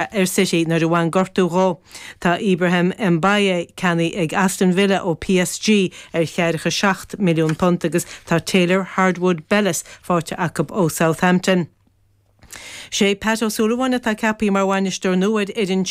Ar City nuair a bhain gortú dhó. Tá Ibrahim Mbaye ceannaithe ag Aston Villa ó PSG ar cheathracha 7 milliún punt agus tá Taylor Harwood-Bellis faighte acu ó Southampton. Sé Pat O'Sullivan atá ceaptha mar bhainisteoir nua ar fhoireann.